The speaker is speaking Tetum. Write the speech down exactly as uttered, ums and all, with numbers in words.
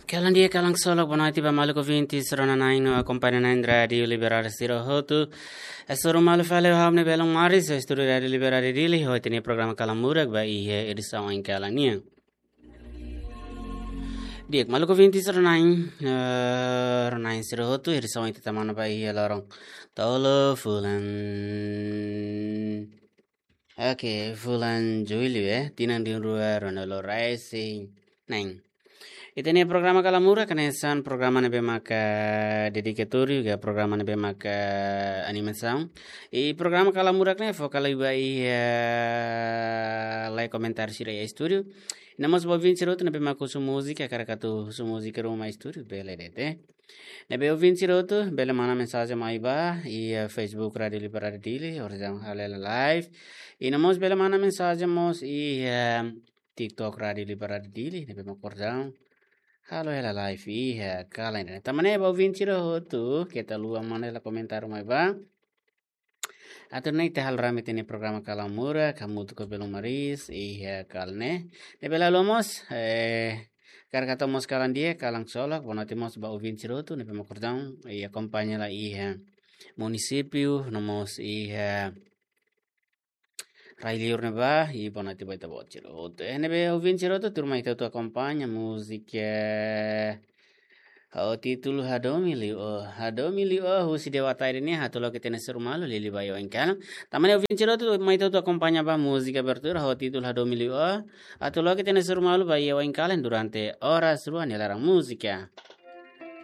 Kalan di'ak, kalan ksolok, boa noite ba maluk ouvintes rona-na'in no akompaña na'in Rádiu Liberdade sira hotu. Hasoru malu fali ho ha'u-nia belun Maris, estúdiu Rádiu Liberdade Dili, ho ita-nia programa Kalan Murak ba iha edisaun oin kalan nian. Di'ak, maluk ouvintes rona-na'in, eh, rona-na'in sira hotu, edisaun ita tama ona ba iha loron tolu fulan. Oke, fulan Jullu, eh, tinan rihun rua ruanulu-resin-neen. Ita-nia programa Kalan Murak hanesan programa ne'ebé maka dedikatóriu, ka programa ne'ebé maka animasaun. I programa Kalan Murak ne'e foka liu ba iha, eh, lai komentáriu sira iha estúdiu. No mós ba ouvinte sira hotu ne'ebé maka husu múzika, hakarak atu husu múzika ruma estúdiu, bele de'it. Ne'ebé ouvinte sira hotu bele manda mensajen mai ba iha Facebook Rádiu Liberdade Dili, orsida halo hela live. I no mós bele manda mensajen mós iha TikTok Rádiu Liberdade Dili, ne'ebé maka orsida halo hela live iha kalan ne'e. Tanba ne'e ba ouvinte sira hotu, keta haluha manda hela komentáriu mai ba. Atu nune'e ita halo rame ita-nia programa Kalan Murak, hamutuk ho belun Maris iha kalan ne'e. Ne'ebé la haluha mós, eh, hakarak hato'o mós kalan di'ak, kalan ksolok, boa noite mós ba ouvinte sira hotu ne'ebé maka orsida, eh, akompaña lai iha munisípiu, no mós iha rai-liur ne'ebá, i boa noite ba ita-boot sira hotu. Eh, ne'ebé ouvinte sira hotu, tuirmai ita hotu akompaña múzika, eh, ho títulu Hadomi Liu Ó. Hadomi Liu Ó, husi Dewa Tairi nian, atu loke ita-nia hasoru malu, liuliu ba iha oin kalan. Tanba ne'e ouvinte sira hotu, mai ita hotu akompaña ba múzika abertura, ho títulu Hadomi Liu Ó. Atu loke ita-nia hasoru malu ba iha oin kalan durante oras rua nia laran múzika.